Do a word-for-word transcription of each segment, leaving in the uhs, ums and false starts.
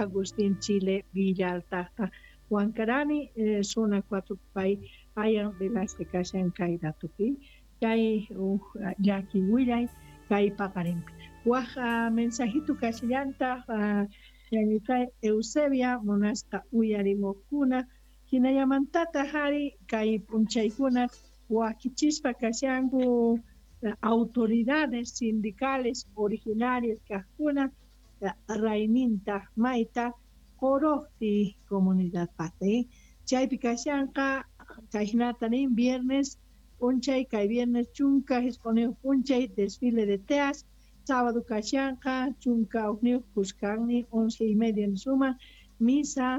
Agustín Chile Villaltaqta Huancarani eh, zona cuatro pay ayan Velázquez kashan kay ratupi kay uh, llaki willay kay paqarinpi waj uh, mensajito kashallantaq uh, ñañitay Eusebia munasqa uyarimuqkuna hinallamantataq ari kay p'unchaykuna wakichispa kashanku autoridades sindicales originarias kaqkuna rayminta mayta Qoroqti comunidad pata chaypi kashanqa kayhinata nin viernes p'unchay kay viernes chunka hisq'uniyuq p'unchay desfile de teas sábado kashanqa chunka hukniyuq kuskanni once y media nisuma misa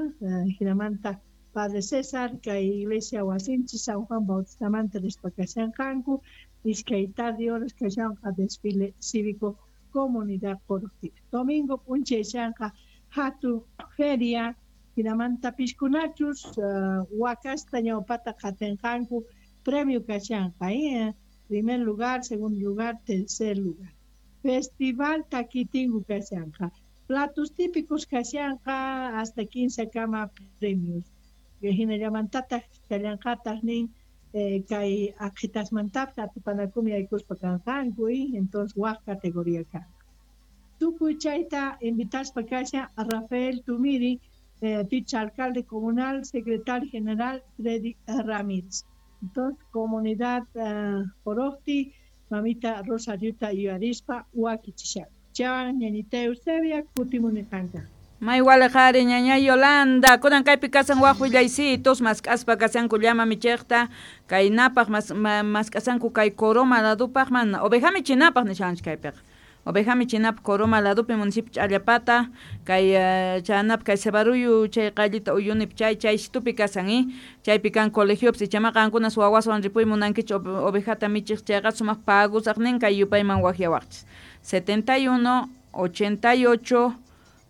hinamanta Padre César kay iglesia wasinchis San Juan Bautistamanta rispa kashanqanku iskay tarde horas kashanqa desfile cívico comunidad Qoroqti domingo p'unchay shanqa hatun feria hinamanta piskunachus uh, wakasta ñawpata qatinqanku premio kashanqa eh? Primer lugar, segundo lugar, tercer lugar. Festival Takitingu kashanqa platos típicos kashanqa hasta quince kama premios hinallamantataq kallanqataq nin eh, kay aqhitasmantapis atipanakumi aykuspa kanqanku entonces waj categoría kanqa tukuy chayta invitaspa kashan a Rafael Tumiri eh, vice alcalde comunal, secretario general Freddy Ramírez. Entonces, comunidad Qoroqti, uh, mamita Rosariuta yuyarispa wakichishan. Chawan ñañita Eusebia kutimuniqanka. May waliqari ñaña Yolanda, kunan kaypi kasan waq willaysitos mask'aspa kasanku llama michiqta kay napaq mas, ma, mask'asanku kay Coroma ladupaq mana oveja michinapaq nishanchik kaypiqa. Oveja michinapaq Coroma ladupi municipio Ch'allapata kay uh, chanap kay Cebaruyu chay qallita uyunip chay chay situpi kasan eh chaypi kan colegiopis ichama qankunas wawaswan ripuy munankichik ovejata michiq chayqa sumaq pagusaqnin kay yupayman waqyawaqchis setenta y uno, ochenta y ocho,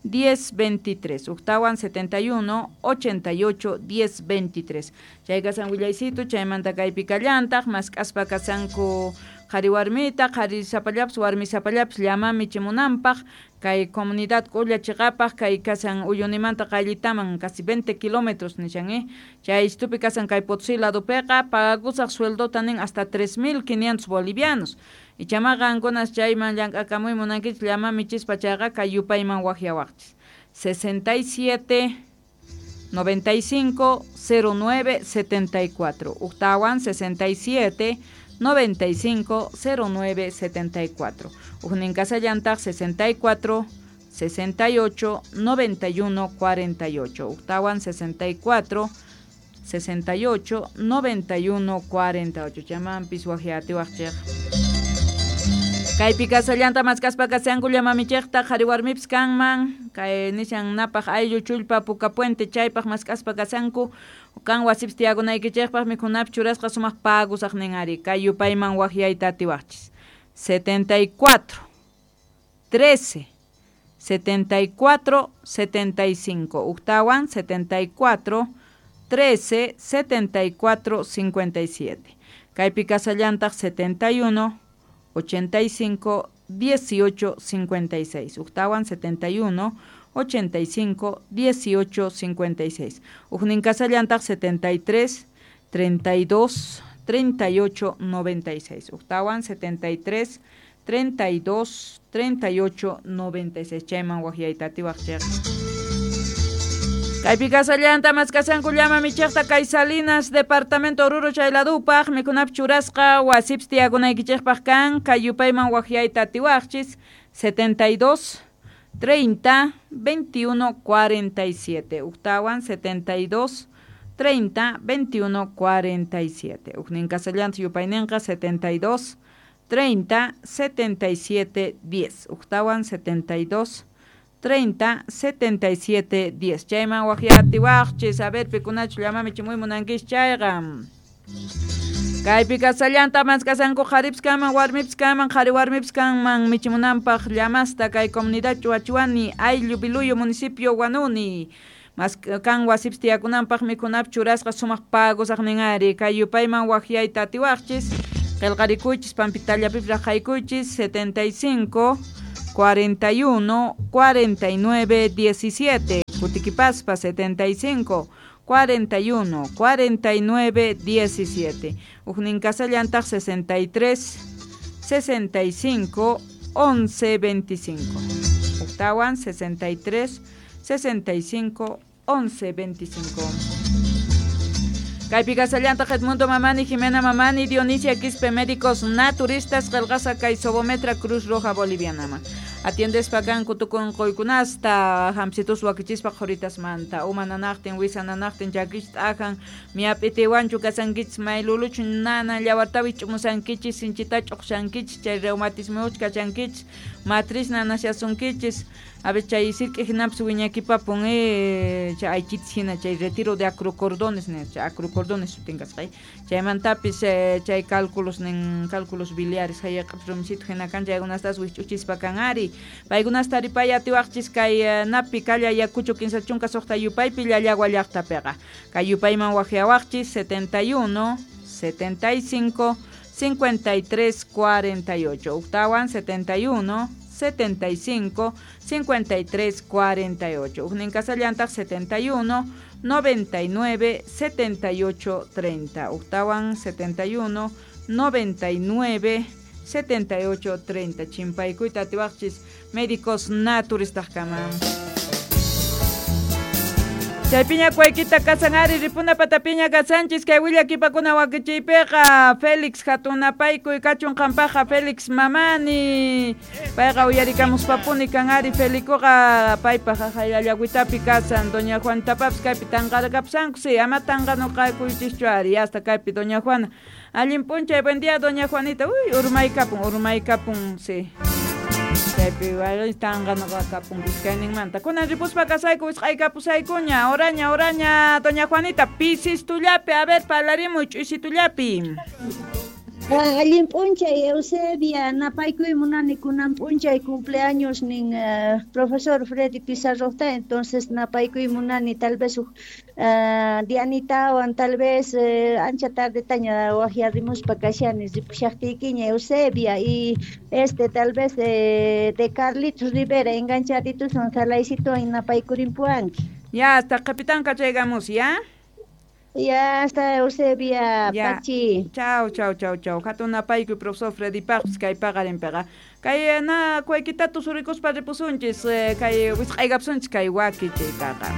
diez veintitrés, uktawan setenta y uno, ochenta y ocho, diez veintitrés. Chay kasan willaysitu, chaymanta kaypi kallantaq, mask'aspa kasanku qhari warmita, qhari sapallapis, warmi sapallapis llama michimunanpaq, kay comunidad k'ulla chiqapaq, kay kasan uyunimanta qayllitaman casi veinte kilómetros nishan eh. Chay istupi kasan kay Potosí ladupiqa, pagusaq sueldota nin hasta tres mil quinientos bolivianos. Ichama qankunas chayman llank'akamuy munankichik llama michispa chayqa kay yupayman waqyawaqchis sesenta y siete, noventa y cinco, cero nueve, setenta y cuatro, uktawan sesenta y siete, noventa y cinco, cero nueve, setenta y cuatro, uknin kasallantaq sesenta y cuatro, sesenta y ocho, noventa y uno, cuarenta y ocho, uktawan sesenta y cuatro, sesenta y ocho, noventa y uno, cuarenta y ocho. Chamanpis waqyatiwaqchik. Kaypi kasallanta maskaspa kasanku llama michiqta qhari warmipis kanman kay nishan napaq ayllu chullpa Puka Puente chaypaq maskaspa kasanku kan wasipis tiyakunaykichikpaq mikhunapi churasqa sumaq pagusaqnin ari kay yupayman waqyayta atiwaqchis setenta y cuatro, trece, setenta y cuatro, setenta y cinco, uktawan setenta y cuatro, trece, setenta y cuatro, cincuenta y siete. Kaypi kasallantaq setenta y uno, ochenta y cinco, dieciocho, cincuenta y seis. Uktawan setenta y uno, ochenta y cinco, dieciocho, cincuenta y seis. Ujnin kasallantaq setenta y tres, treinta y dos, treinta y ocho, noventa y seis. Uktawan setenta y tres, treinta y dos, treinta y ocho, noventa y seis. Chayman waqyayta atiwaqchik. Kaypi kasallanta maskasanku llama michiqta kay Salinas, departamento Oruro chayladupaq, mikhunapi churasqa wasipis tiyakunaykichikpaq kan, kay yupayman waqyayta atiwaqchis setenta y dos, treinta, veintiuno, cuarenta y siete. Uktawan setenta y dos, treinta, veintiuno, cuarenta y siete. Uknin kasallanta yupayninqa setenta y dos, treinta, setenta y siete, diez. Uktawan setenta y dos, treinta, setenta y siete, diez. Chayman waqyatiwaqchis, a ver, pikunachu llama michimuy munankichik chayqa. Kaypi kasallanta maskasanku qharipis kanman, warmipis kanman, qhari warmipis kanman michimunanpaq llamasta kay comunidad Chuachuani, ayllu Biluyo, municipio Huanuni. Mas kan wasipis tiyakunanpaq mikhunapi churasqa sumaq pagusaqnin ari kay yupayman waqyayta atiwaqchis, qillqarikuychis, pampitallapipis raqaykuychis setenta y cinco, cuarenta y uno, cuarenta y nueve, diecisiete. Kutikipaspa setenta y cinco cuarenta y uno cuarenta y nueve diecisiete. Ujnin kasallantaq sesenta y tres sesenta y cinco once veinticinco. Octawan sesenta y tres sesenta y cinco once veinticinco. Kaypi kasallantaq Edmundo Mamani, Jimena Mamani, Dionisia Quispe, médicos naturistas, qillqasqa kay Sobometra Cruz Roja Bolivianama. Atiendespa kanku tukun quykunasta, hamsitus wakichispa qhuritasmanta, uma nanaqtin, wisa nanaqtin, chakich t'ajan, miap'itiwanchu kasankichis, mayluluchu nana, llawartawi ch'umusankichis, sinchita ch'uqshankichis, chay reumatismuch kachankichis, matriz nanashasunkichis, a ver chay sirk'i hinapis wiñakipapun, eh, chay aychitis hina, chay retiro de acrocordones, ne, chay acrocordones sutin kasqay, chaymantapis eh, chay cálculos nin, cálculos biliares, hayaqapis rumisitu hina kan, chaykunastas wikch'uchispa kan ari. Paykunasta taripay atiwaqchis kay napi kalla Ayacucho kinsa chunka suqta yupaypi Llallagua llaqtapiqa. Kay yupayman waqyawaqchis setenta y uno, setenta y cinco, cincuenta y tres, cuarenta y ocho. Octawan setenta y uno, setenta y cinco, cincuenta y tres, cuarenta y ocho. Ujnin kasallantaq setenta y uno, noventa y nueve, setenta y ocho, treinta. Octawan setenta y uno, noventa y nueve, setenta y ocho, treinta. Chimpaykuyta atiwaqchis médicos naturistas kama. Chaypiña kuaykita kasan ari ripuna patapiña kasanchis kay willakipakuna wakichiypiqa Félix hatunapaykuy kachun qampaqa Félix Mamani payqa uyarikamuspapuni kan ari Felicoqa paypaq jayallawitapi kasan doña Juanitapapis kaypi tanqarakapusanku si ama tanqanuqakuychischu ari hasta kaypi doña Juana allin p'unchay buen día doña Juanita uy urmaykapun urmaykapun si chaypi tanqanuqakapun iskayninmanta kunan ripuspa kasayku wisq'aykapusaykuña oraña oraña doña Juanita pisistullapi a ver parlarimuy ch'usitullapi. Allin p'unchay Eusebia napaykuy munani kunan p'unchay cumpleaños nin uh, profesor Freddy Pizarroqta entonces napaykuy munani tal vez uh, Dianitawan tal vez uh, ancha tardetaña waqyarimuspa kashani ripushaqtiykiña Eusebia y este tal vez eh, de Carlitos Rivera enganchadituswan salaycituwan napaykurimpuwanki. Ya hasta capitán kachaykamus ya. Ya hasta Eusebia, ya. Pachi. Chau, chau, chau, chau. Hatun napaykuy profesor Freddy Paqpis kay paqarinpiqa. Kay na kuaykitatu surikuspa ripusunchis, kay wisq'aykapsunchis kay wakichiytaqa.